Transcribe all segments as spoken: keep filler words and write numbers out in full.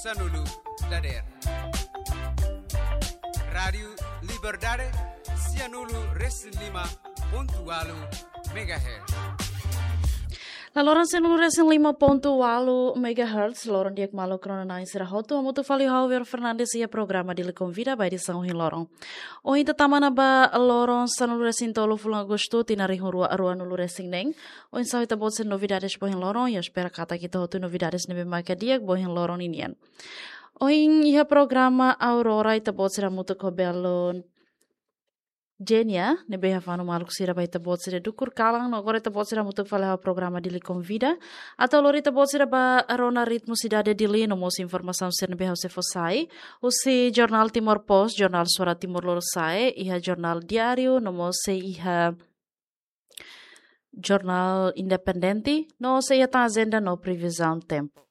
Sanulu dader. Rádiu Liberdade, sianulu resin lima pontu walu megahertz. La loron sianulu resin lima pontu walu megahertz, loron di'ak maluk rona-na'in sira hotu, hamutuk fali ho ha'u Vero Fernandes iha programa Dili Konvida ba edisaun ohin loron. Ohin ita tama ona ba loron sanulu resin tolu fulan Agostu, tinan rihun rua ruanulu resin neen. Oinsá ita-boot sira-nia novidades ba ohin loron, ha'u espera katak ita hotu novidades ne'ebé maka di'ak ba ohin loron ninian. Ohin iha programa Aurora ita-boot sira hamutuk ho belun Jenia, ne'ebé hafanu maluk sira ba ita-boot sira dukur kalan, no agora ita-boot sira hamutuk fali ho programa Dili Konvida, atu lori ita-boot sira ba rona ritmu sidade Dili no mós informasaun sira ne'ebé ha'u sei fó sai, husi jornál Timor Post, jornál Suara Timor Lorosa'e, iha jornál Diáriu, no mós sei iha jornál Independente, no sei iha tan ajenda no previzaun tempu.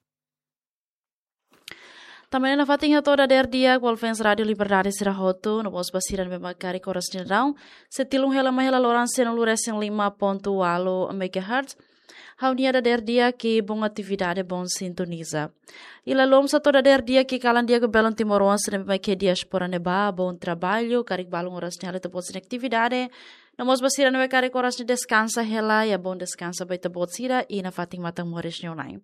Tanba ne'e nafatin hato'o dader di'ak ba fans Rádiu Liberdade sira hotu, no mós ba sira ne'ebé mak karik oras ne'e daudaun, sei tilun hela mai hela loron sianulu resin lima pontu walu megahertz. Ha'u-nia dader di'ak i bom atividade, bom sintoniza. I la loos hato'o dader di'ak i kalan di'ak ba belun timoroan sira ne'ebé mak iha diáspora ne'ebá, bom trabalho, karik balun oras ne'e halo ita-boot sira-nia atividade, no mós ba sira ne'ebé karik oras ne'e deskansa hela, iha bom deskansa ba ita-boot sira, i nafatin matan moris nia oin.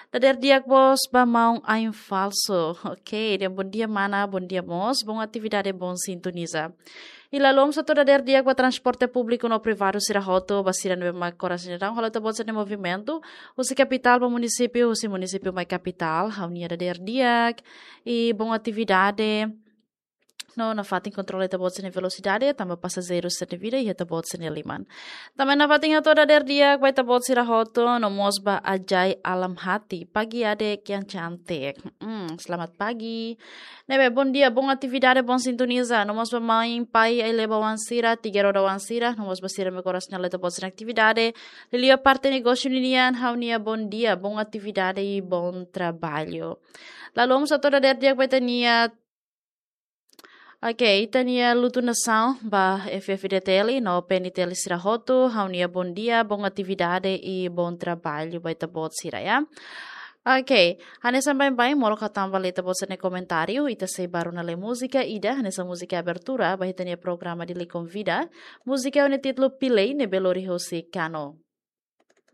Dader di'ak mós ba maun Ain Falso. Ok, dehan bom dia mana, bom dia mós, bom atividade, bom sintoniza. I la loos hato'o dader di'ak ba transporte públiku no privadu sira hotu, ba sira ne'ebé mak oras ne'e daudaun halo ita-boot sira-nia movimentu, husi kapitál ba munisípiu, husi munisípiu mai kapitál, ha'u-nia dader di'ak, i bom atividade, no nafatin kontrola ita-boot sira-nia velosidade, tanba pasajeiru sira-nia vida iha ita-boot sira-nia liman. Tanba nafatin hato'o dader di'ak ba ita-boot sira hotu, no mós ba Ajai Alam Hati, pagi adik yang cantik. Hmm, selamat pagi. Ne'ebé, bom dia, bom atividade, bom sintoniza. No mós ba mãe, pai, ai-leba oan sira, tiga roda oan sira, no mós ba sira ne'ebé oras ne'e halo ita-boot sira-nia atividade, liuliu parte negósiu ninian, ha'u-nia bom dia, bom atividade i bom trabalho. La loos hato'o dader di'ak ba ita-nia Ok, ita-nia lutu nasaun ba F F D T L no P N T L sira hotu, ha'u-nia bom dia, bom atividade i bom trabalho ba ita-boot sira, ya. Ok, hanesan baibain, molok ha'u tama ba ita-boot sira-nia komentáriu, ita sei bá rona lee múzika ida, hanesan múzika abertura ba ita-nia programa Dili Konvida, múzika ho nia títulu Pilei, ne'ebé lori husi Kano.